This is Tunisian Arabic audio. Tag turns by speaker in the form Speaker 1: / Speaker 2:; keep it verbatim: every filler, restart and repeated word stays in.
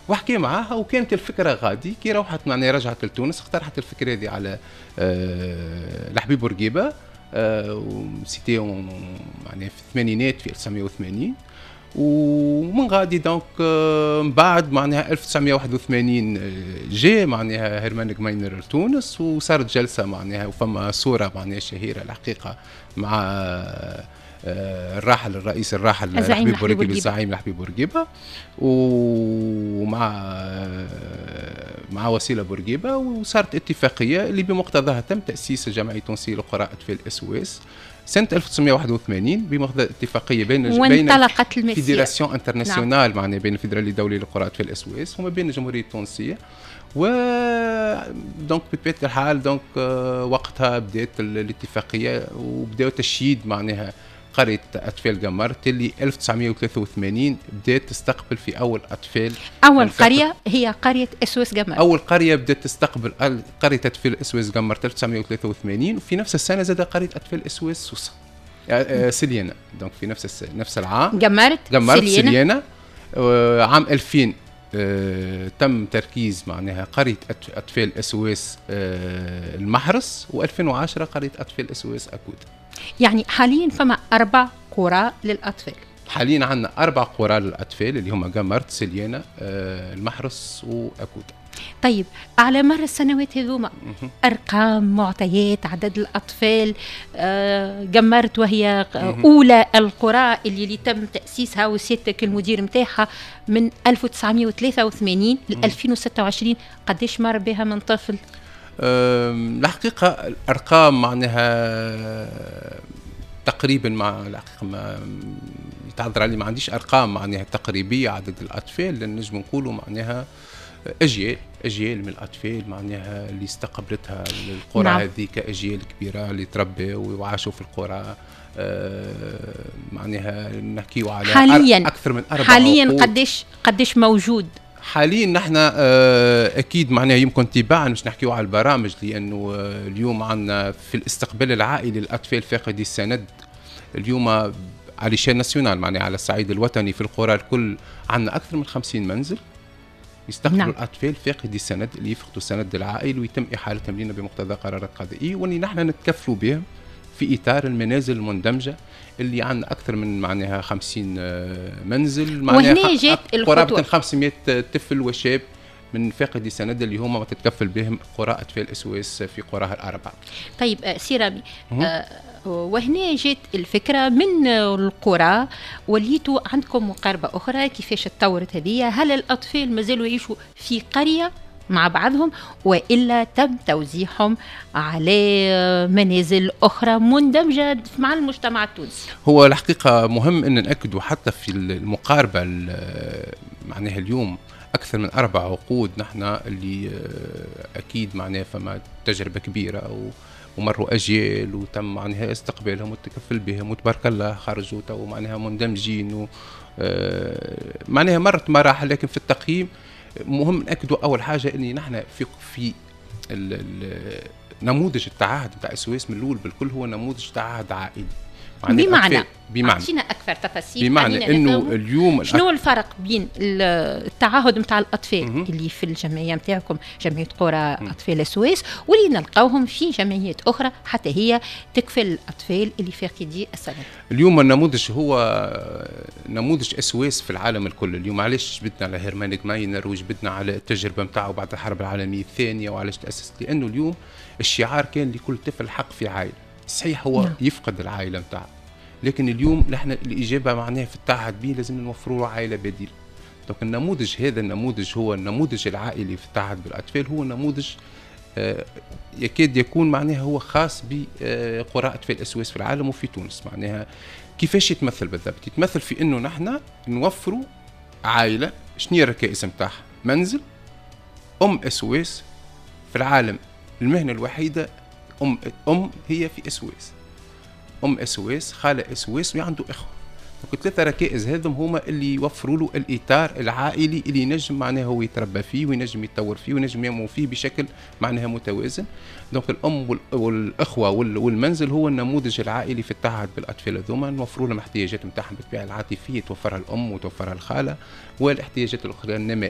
Speaker 1: وحكي معاها، وكانت الفكرة غادي كي روحت معناها رجعت لتونس اقترحت الفكرة هذه على آه الحبيب بورقيبه، آه c'était معناها في الثمانينات، في ألف وتسعمية وثمانين. ومن غادي donc آه، من بعد معناها ألف وتسعمية وواحد وثمانين آه، جاء معناها هيرمان جماينر لتونس وصارت جلسه معناها، وفما صوره معناها شهيرة الحقيقة مع آه، الراحل الرئيس الراحل
Speaker 2: الزعيم
Speaker 1: الحبيب بورقيبه،
Speaker 2: الزعيم
Speaker 1: الزعيم الحبيب بورقيبه، ومع مع وسيلة بورقيبه، وصارت اتفاقية اللي بمقتضاها تم تاسيس الجمعية التونسية لقرى اطفال SOS سنة ألف وتسعمية وواحد وثمانين، بمقتضى اتفاقية بين بين
Speaker 2: وانطلقت المسيرة.
Speaker 1: fédération internationale، نعم. معناها بين الفيدرالية الدولية لقرى اطفال SOS وما بين الجمهورية التونسيه. و donc بطبيعة الحال donc آه، وقتها بدات الاتفاقية وبداو تشييد معناها قرية اطفال قمرت اللي ألف وتسعمية وثلاثة وثمانين بدات تستقبل في اول اطفال.
Speaker 2: اول قرية هي قرية SOS قمرت.
Speaker 1: اول قرية بدات تستقبل قرية اطفال SOS قمرت ألف وتسعمية وثلاثة وثمانين، وفي نفس السنة زاد قرية اطفال SOS سوسة آه، سليانه، donc في نفس نفس العام.
Speaker 2: قمرت.
Speaker 1: قمرت، سليانه. آه، عام ألفين آه، تم تركيز معناها قرية اطفال SOS المحرس، وألفين وعشرة قرية اطفال SOS اكود.
Speaker 2: يعني حاليا فما اربع قرى للاطفال.
Speaker 1: حاليا عندنا اربع قرى للاطفال اللي هما قمرت، سليانه، المحرس واكود.
Speaker 2: طيب، على مر السنوات هذوما ارقام، معطيات، عدد الاطفال، آه، قمرت وهي اولى القرى اللي, اللي تم تاسيسها وسيادتك المدير نتاعها من ألف وتسعمية وثلاثة وثمانين ل ألفين وستة وعشرين، قديش مر بها من طفل؟
Speaker 1: الحقيقة الارقام معناها تقريبا مع الحقيقة ما يتعذر علي، ما عنديش ارقام معناها تقريبية عدد الاطفال، لان نجم نقولوا معناها اجيال اجيال من الاطفال معناها اللي استقبلتها القرى نعم. هذيك اجيال كبيرة اللي تربوا وعاشوا في القرى، آه معناها نحكيو على
Speaker 2: حاليا
Speaker 1: اكثر من اربع
Speaker 2: حاليا قديش قديش موجود؟
Speaker 1: حاليا نحن آه، اكيد معناها يمكن تباعا مش نحكيو على البرامج، لانه آه، اليوم عندنا في الاستقبال العائلي للاطفال فاقدي السند اليوم على l'échelle nationale، معناها على الصعيد الوطني، في القرى الكل عندنا اكثر من خمسين منزل يستقبلوا نعم. الاطفال فاقدي السند اللي يفقدوا السند العائلي ويتم احالتهم لنا بمقتضى قرارات قضائيه، واللي نحن نتكفلوا بهم في اطار المنازل المندمجه اللي عندنا اكثر من معناها خمسين آه، منزل.
Speaker 2: معناها وهنا جات
Speaker 1: قرابة خمسمية طفل وشاب من فاقدي سند اللي هما تتكفل بهم قرى اطفال SOS في قراها الاربعه.
Speaker 2: طيب آه، سي رامي، آه وهنا جات الفكرة من القرى، وليتوا عندكم مقاربة اخرى، كيفاش تطورت هذه؟ هل الاطفال مازالوا يعيشوا في قرية مع بعضهم والا تم توزيعهم على منازل اخرى مندمجه مع المجتمع التونسي؟
Speaker 1: هو الحقيقة مهم ان ناكدوا حتى في المقاربه، معناها اليوم اكثر من اربع عقود نحن اللي آه، اكيد معناها فما تجربه كبيرة و ومروا اجيال وتم معناها استقبالهم والتكفل بهم، وتبارك الله خرجوا تو معناها مندمجين و آه، معناها مرت مراحل. لكن في التقييم مهم ناكدوا اول حاجة اني نحن في في نموذج التعهد بتاع SOS من الاول بالكل هو نموذج تعهد عائلي.
Speaker 2: بمعنى بمعنى اعطينا اكثر تفاصيل.
Speaker 1: بمعنى انه اليوم
Speaker 2: شنو الفرق بين التعهد نتاع الاطفال مه. اللي في الجمعية نتاعكم، جمعية قرى اطفال SOS، واللي نلقاوهم في جمعيات اخرى حتى هي تكفل الاطفال اللي فاقدي السند؟
Speaker 1: اليوم النموذج هو نموذج SOS في العالم الكل. اليوم علاش جبدنا على هيرمان ماينر وجبدنا على التجربة نتاعو بعد الحرب العالمية الثانية وعلاش تاسست؟ لانه اليوم الشعار كان لكل طفل حق في عائله. صحيح هو نعم. يفقد العائلة نتاعه، لكن اليوم نحن الاجابة معناها في التعهد به لازم نوفروا له عائلة بديله. donc النموذج هذا، النموذج هو النموذج العائلي في التعهد بالاطفال، هو نموذج آه، يكاد يكون معناها هو خاص بقرى اطفال SOS في العالم وفي تونس. معناها كيفاش يتمثل بالضبط؟ يتمثل في انه نحن نوفروا عائله. شنو هي الركائز نتاعها؟ منزل، ام SOS، في العالم المهنة الوحيدة ام ام هي في SOS، ام SOS، خاله SOS، وعنده اخوه. donc ثلاثة ركائز هذم هما اللي يوفروا له الاطار العائلي اللي ينجم معناها هو يتربى فيه وينجم يتطور فيه وينجم ينمو فيه بشكل معناها متوازن. donc الام والاخوة والمنزل هو النموذج العائلي في التعهد بالاطفال هذوما. نوفروا لهم احتياجات نتاعهم بالطبيعة العاطفية توفرها الام وتوفرها الخاله، والاحتياجات الاخرى النمائيه.